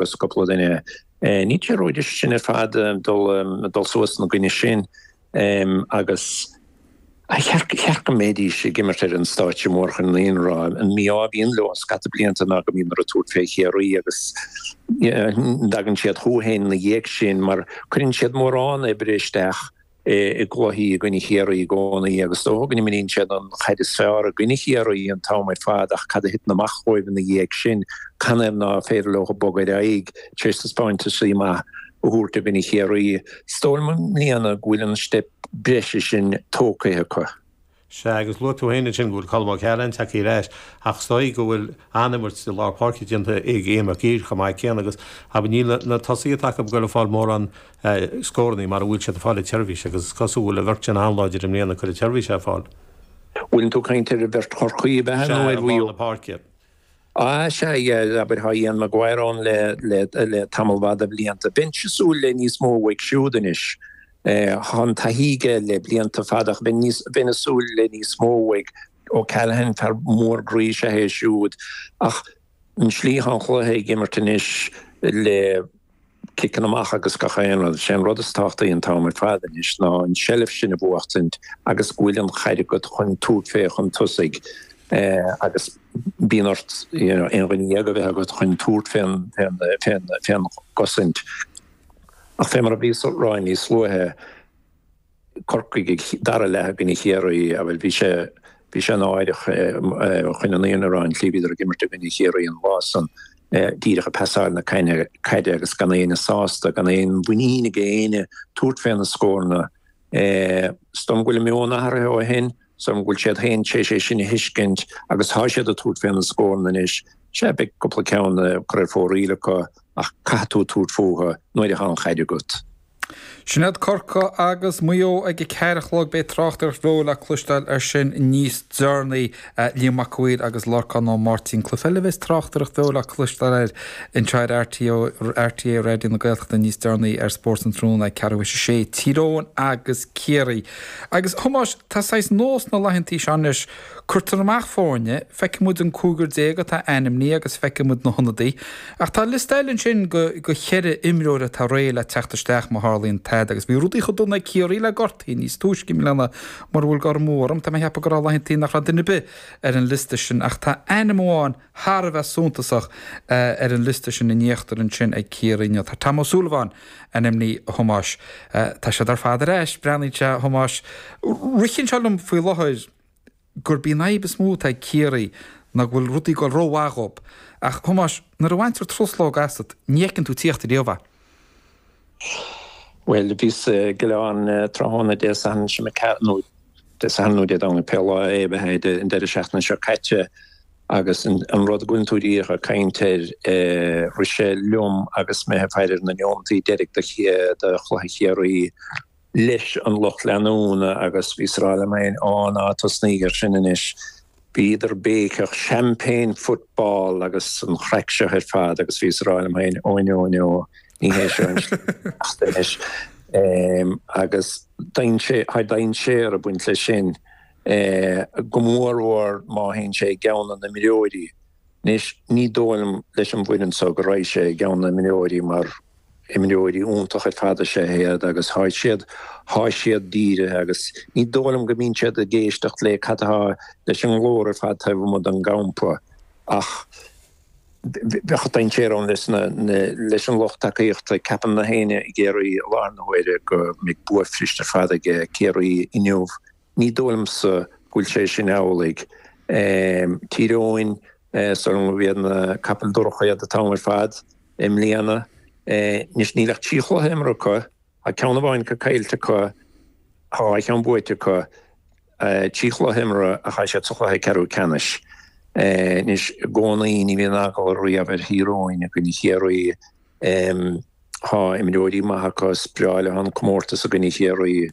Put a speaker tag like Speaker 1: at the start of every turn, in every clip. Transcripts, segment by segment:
Speaker 1: agus cúpla duine. Níl sé ródheas sin ar fad dul dul suas ina gcoinne sin agus cheart go mbeidís ag imirt ar an stáitse mór chun an fhírinne a rá. An mí-ádh a bhíonn leo scata blianta ná go mbíonn orthu tabhairt fé Chiarraí agus dtagann siad chucu féin ina dhiaidh sin mar cuireann siad mórán oibre isteach i gcluichí i gcoinne Chiarraí i gcónaí agus is dócha go n-imríonn siad an chaid is fearr i gcoinne Chiarraí an t-am ar fad ach cad a thiteann amach dhóibh ina dhiaidh sin? Canathaobh ná féidir leo bogadh ar aghaidh tar éis taispeántaisí maith a thabhairt i gcoinne Chiarraí? Is dóigh liom i mbliana go bhfuil an steip breise sin tógtha acu.
Speaker 2: Sea, agus luaigh tú féin ansin go bhfuil Colm O'Callaghan tagtha ar ais, ach is dóigh go bhfuil an-imirt i lár páirce déanta ag Ian McGeary chomh maith céanna agus, abair, níl na tosaithe atá acu ag goil ag fáil mórán scórannaí mar a bhfuil siad ag fáil an tseirbhís agus is cosúil go bhfuil an bheirt sin an-láidir i mbliana ag cur an tseirbhís ar fáil.
Speaker 1: Bhfuileann tú ag caint ar an bheirt Chorcaí ab ea
Speaker 2: nó ar Mhaigh Eo? Sea, i lár na páirce.
Speaker 1: Ah, sea, yeah, abair, tá Ian Maguire ann le, le, le tamall fada blianta. Bheinnse ag súil le níos mó uaidh siúd anois. Tá an taithí aige le blianta fada ach bheinn níos, bheinn ag súil le níos mó uaidh. O'Callaghan, fear mór groí is ea é siúd. Ach an slí atá an chluiche ag imirt anois le, ciceanna amach agus gach aon rud. Sé an rud is tábhachtaí an t-am ar fad anois ná an tseilbh sin a bhuachtaint agus go bhfuil an chaid agat chun tabhairt fé chun tosaigh agus bíonn ort you know aon dhuine dhéag a bheith agat chun tabhairt fén fén fén gcosaint. Ach fé mar a bhíos a rá níos luaithe, Corcaigh ag dara leath i gcoinne Chiarraí, bhuel bhí sé, bhí sé náireach chun an fhírinne a rá an tslí a bhíodar ag imirt i gcoinne Chiarraí an lá san, díreach ag pasáil na caide agus gan éinne sásta, gan aon mhuinín ag éinne tabhairt fé na scóranna. Is dóigh liom go bhfuil a meon athraithe ó shin, is dóigh liom go bhfuil siad féin tar éis é sin a thuiscint agus tá siad ag tabhairt fé na scóranna anois. Sea, beidh cúpla ceann curtha ar fóraoil acu ach caithfidh tú tabhairt fúthu nuair atá an chaid agat.
Speaker 3: Sin iad Corcaigh agus Maigh Eo ag a 4 a chlog. Beidh tráchtaireacht bheo le cloisteáil air sin níos deireanaí. Liam Mac a' Mhaoir agus Lorcán Ó Máirtín. Cluiche eile a bheas tráchtaireacht bheo le cloisteáil air anseo ar RTÉ Raidió na Gaeltachta níos deireanaí ar Spórt an Tráthnóna ag ceathrú théis a sé. Tír Eoghain agus Ciarraí. Agus, a Thomáis, tá saghas nós na laethantaí seo anois, cuirtear amach foirne, feicfidh muid an cúigear atá ainmnithe agus feicfidh muid na hionadaithe. Ach tá liosta eile ansin de cheithre imreoir atá réidh le teacht isteach má tharlaíonn tada agus bhí rudaí chomh dona ag Ciarraí le gortaithe níos túisce i mbliana mura bhfuil cur amú orm. Tá mé ag ceapadh go raibh laethantaí nach raibh duine ar bith ar an liosta sin ach tá ainm amháin thar a bheith suntasach ar an liosta sin in íochtar ansin ag Ciarraí inniu. Tá Tom O'Sullivan ainmnithe a Thomáis. Tá siad ar fad ar ais, breathnaíonn sé a Thomáis. Ritheann sé liom faoi láthair. gurb í an fhadhb is mó atá ag Ciarraí ná go bhfuil rudaí ag dul rómhaith dhób. Ach, Thomáis, nuair a bhaintear truslóg asat, ní fheiceann tú tíocht riamh é.
Speaker 1: Bhuel, bhíos ag oileán tráthnóna Dé Sathairn seo nó Dé Sathairn nó Dé Domhnaigh, pé lá é a bheith an deireadh seachtaine seo caite, agus an rud go bhfuil tú díreach ag caint air, rith sé liom agus mé ag faire ar na neomataí deiridh de chluiche Chiarraí, leis an lucht leanúna agus bhíos ag rá liom féin, Á, ná tosnaíg air sin anois. Bhíodar ag béiceach, Champagne football agus an chraic seo ar fad agus bhíos ag rá liom féin, Ó no, no, ní hé seo an slí isteach anois. Agus tá dainséar ag baint leis sin, go mórmhór má théann sé i gceann na n-imreoirí. Anois, ní dóigh liom leis an bhfoireann seo go raghaidh sé i gceann na n-imreoirí mar imreoirí iontach ar fad is ea iad agus thá siad, thá siad dírithe agus ní dóigh liom go mbíonn siad ag éisteacht le cad atá leis an nglór ar fad taobh amuigh den gcampa ach bheadh dainséar ann leis na, leis an lucht tacaíochta. Ceapann na héinne i gCiarraí i láthair na huaire go mbeidh bua fuirist ar fad ag Ciarraí inniu. Ní dóigh liomsa go bhfuil sé sin amhlaidh. Tír Eoghain, is dóigh liom gurb iad na capaill dorcha iad an t-am ar fad i mbliana. Anois níl ach 3 chluiche imeartha acu, tá ceann amháin acu caillte acu, tá dhá cheann buaite acu, 3 chluiche imeartha ach tá siad sa chluiche ceathrú ceannais. Anois i gcónaí ní bhíonn eagla riamh ar Thír Eoghain i gcoinne Chiarraí. Tá imreoirí maithe acu, is breá leo an comórtas i gcoinne Chiarraí.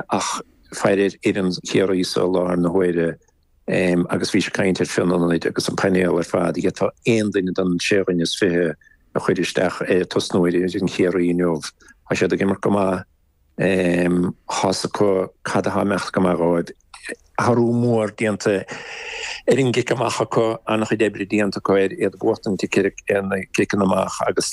Speaker 1: Ach faire ar fhoireann Chiarraí so i láthair na huaire agus bhís ag caint ar Fionn ionaid agus an painéal ar fad, d'fhéadfá aon duine den sé dhuine is 20 a chur isteach tosnú ar fhoireann Chiarraí inniu. Tá siad ag imirt go maith. Tá's acu cad atá ag imeacht go maith dhóibh. Athrú mór déanta ar an gcic amach acu, an-chuid oibre déanta acu ar iad a bhuachtaint ag na ciceanna amach agus.